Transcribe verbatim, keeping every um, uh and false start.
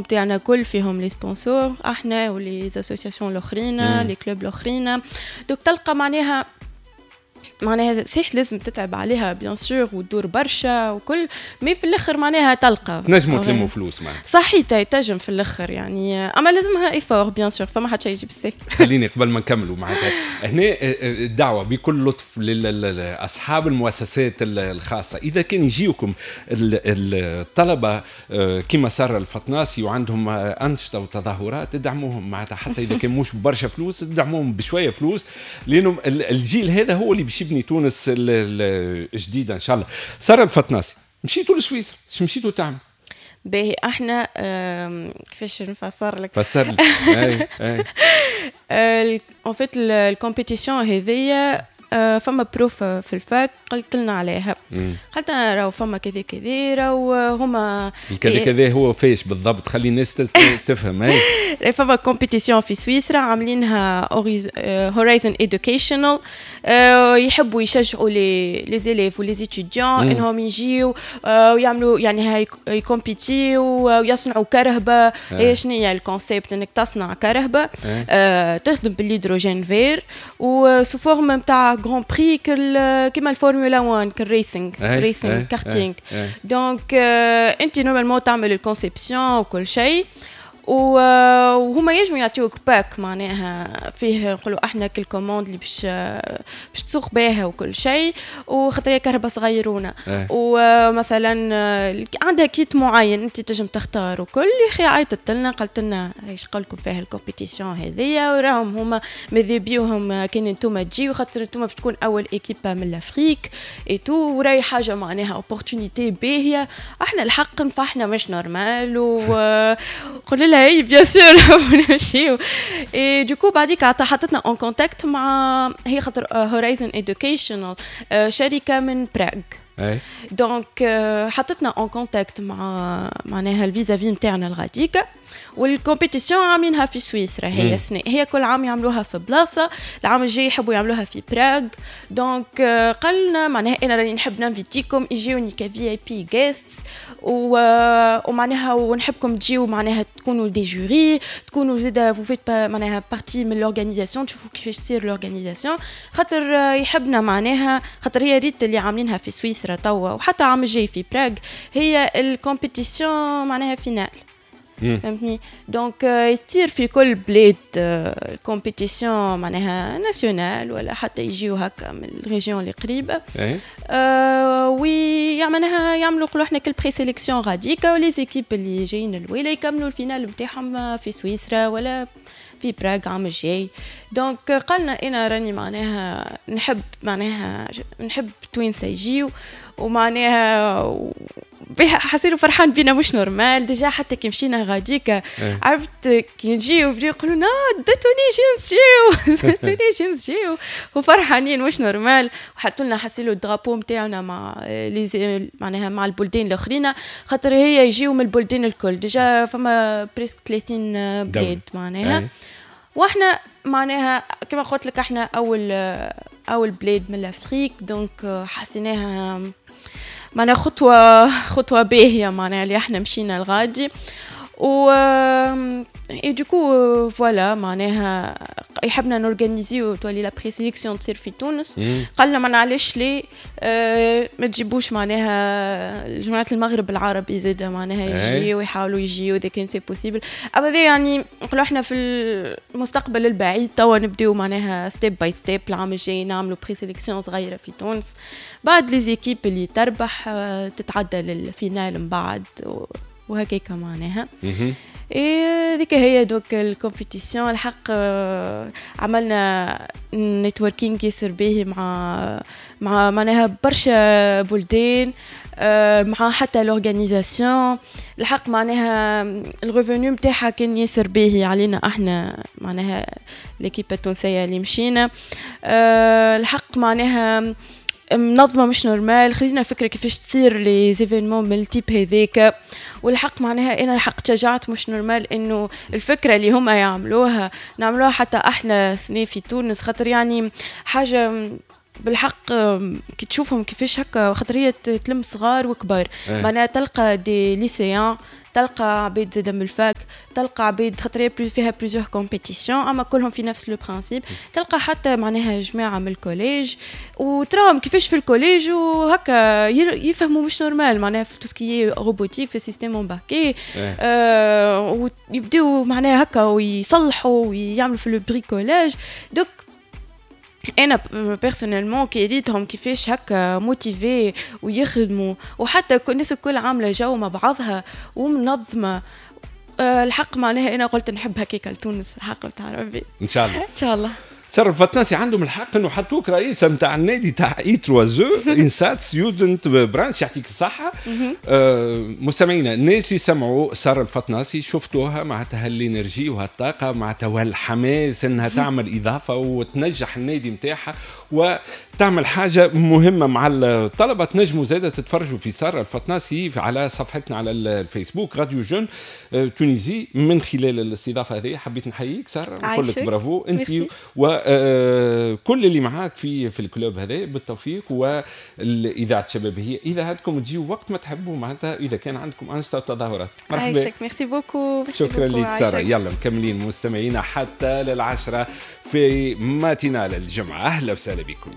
نتاعنا كل فيهم les sponsors، احنا و les associations الاخرين، les clubs الاخرين. donc تلقى معناها معناها صحيح لازم تتعب عليها bien sûr وتدور برشا وكل، mais في الاخر معناها تلقى. تنجموا تلموا فلوس معناها. صحيح، تنجم في الاخر يعني، اما لازمها effort bien sûr، فما حد شيء يجي بالسهل. خليني قبل ما نكملوا معناتها هنا آه، آه، الدعوة بكل لطف لاصحاب المؤسسات الخاصه، اذا كان يجيوكم الطلبة آه، كما ساره الفطناسي وعندهم انشطة وتظاهرات، ادعموهم معناتها، حتى اذا كان مش برشا فلوس ادعموهم بشوية فلوس، لانه الجيل هذا هو اللي باش يبني تونس الجديدة ان شاء الله. ساره الفطناسي، مشيتوا لسويسرا، شو مشيتوا تعمل؟ باهي، احنا كيفاش نفسر لك؟ فسر لي، اي اي. en fait ال compétition هذيا آه، فما prof في ال fac قلت لنا عليها، قالت لنا راهو فما كذا كذا، راهو هما الكذا كذا هو فيش بالضبط؟ خلي الناس تفهم. اي، فما compétition في سويسرا عاملينها Horizon Educational، يحبوا يشجعوا les les élèves و les étudiants انهم يجيو آه، ويعملوا يعني هاي يكومبيتيو ويصنعوا كرهبه. هي شنو هي ال concept؟ انك تصنع كرهبه آه، تخدم بال hydrogène vert و sous forme نتاع grand prix، كيما الفورمولا واحد، كال racing racing karting. donc انت normalement تعمل ال conception وكل شيء، وهما يجموا يعطيوك pack معناها فيه نقولوا احنا كل commande اللي باش باش تسوق بها وكل شيء، وخاطر هي كرهبة صغيرونه إيه. ومثلا عندها kit معين انت تنجم تختار وكل. يا اخي عيطت لنا قالت لنا ايش قالكم فيها ال compétition هذيا، وراهم هما ماذا بيهم كان انتم تجيو، خاطر انتم باش تكون اول équipe من l'Afrique et tout، وراي حاجة معناها opportunité باهيه. احنا الحق نفرحنا مش normal، وقلنا لها اي bien sûr نمشيو. et du coup بعديك حطتنا en contact مع هي، خاطر Horizon Educational شركة من براغ. اي donc حطتنا en contact مع معناها ال vis-à-vis نتاعنا الغاديكا، وال compétition عاملينها في سويسرا هي السنة، هي كل عام يعملوها في بلاصه، العام الجاي يحبوا يعملوها في براغ. donc قالنا معناها انا راني نحب ننفيتيكم يجيوني ك VIP guests، ومعناها ونحبكم تجيو معناها تكونوا des jurys، تكونوا زاده vous faites معناها partie من l'organisation، تشوفوا كيفاش تصير l'organisation، خاطر يحبنا معناها، خاطر هي ريت اللي عاملينها في سويسرا توا وحتى عام الجاي في براغ هي ال compétition معناها finale، فهمتني؟ donc يصير في كل بلاد compétition معناها nationale ولا حتى يجيو هكا من ال région اللي قريبه أه ويعملها يعملوا نقولوا احنا كل présélection غاديكا، و les équipes اللي جايين الاولى يكملوا ال finale نتاعهم في سويسرا ولا في براغ عام الجاي. donc قالنا انا راني معناها نحب معناها نحب توانسة يجيو، ومعناها حسيرو فرحان بينا مش normal. déjà حتى كي مشينا غاديك إيه. عرفت كي نجيو بداو يقولوا لنا the Tunisians جيو، the Tunisians جيو، وفرحانين مش normal، وحطوا لنا حسيلو ال drapeau نتاعنا مع les معناها مع البلدان الاخرين، خاطر هي يجيو من البلدان الكل، déjà فما presque ثلاثين بلاد معناها إيه. واحنا معناها كما قلت لك احنا اول اول بلاد من l'Afrique، donc حسيناها معناها خطوه خطوه باهيه معناها اللي احنا مشينا الغادي. و et du coup voilà معناها يحبنا نورغانيزيو تولي la présélection تصير في تونس. قالنا ما علاش ليه اه ما تجيبوش معناها جماعة المغرب العربي زاد معناها يجيو ويحاولوا يجيو اذا كان c'est possible. اما ذي يعني نقولوا احنا في المستقبل البعيد، توا نبداو معناها step by step، العام الجاي نعملوا présélection صغيرة في تونس، بعد les équipes اللي تربح تتعدى لل finale من بعد وهكاك معناها. إيه ذيك هي donc ال compétition. الحق آه، عملنا networking ياسر باهي مع مع معناها برشا بلدان، آه، مع حتى l'organisation. الحق معناها ال revenu نتاعها كان ياسر باهي علينا احنا معناها l'équipe التونسية اللي مشينا. آه، الحق معناها منظمة مش normal، خذينا فكرة كيفاش تصير les événements من ال type هذاك. والحق معناها انا الحق تشجعت مش normal انه الفكرة اللي هما يعملوها نعملوها حتى احنا سنة في تونس، خاطر يعني حاجة بالحق كي تشوفهم كيفاش هكا، خاطر هي تلم صغار وكبار إيه. معناها تلقى des lycéens، تلقى عباد زاده من ال fac، تلقى عباد خاطر فيها plusieurs compétitions، اما كلهم في نفس le principe. تلقى حتى معناها جماعة من ال collège، وتراهم كيفاش في ال collège وهكا يفهموا مش normal معناها في tout ce qui est robotique، في système embarqué، آه ويبداو معناها هكا ويصلحوا ويعملوا في le bricolage. donc انا personnellement كي ريتهم كيفاش هكا motivés ويخدموا، وحتى الناس الكل عامله جو مع بعضها ومنظمه، آه، الحق معناها انا قلت نحب هكاك لتونس، الحق بتاع ربي. ان شاء الله. ان شاء الله. سارة الفطناسي، عندهم الحق انه حطوك رئيسه نتاع النادي تاع I trois E INSAT student branch. يعطيك الصحه. آه مستمعينا، الناس اللي سمعوا ساره الفطناسي شفتوها معناتها هال énergie وهالطاقه معناتها وهالحماس انها تعمل اضافه وتنجح النادي نتاعها وتعمل حاجة مهمة مع الطلبه. تنجموا زاده تتفرجوا في ساره الفطناسي على صفحتنا على الفيسبوك Radio Jeune آه، Tunisie. من خلال الاستضافة هذه حبيت نحييك ساره، نقول لك برافو انت وكل اللي معاك في في ال club هذا، بالتوفيق. والاذاعه الشبابية اذاعتكم، تجيو وقت ما تحبوا معناتها اذا كان عندكم انشطة وتظاهرات. مرحبا. عايشك، merci beaucoup. شكرا لك ساره. يلا مكملين مستمعينا حتى للعشرة في matinale الجمعه. اهلا وسهلا بكم.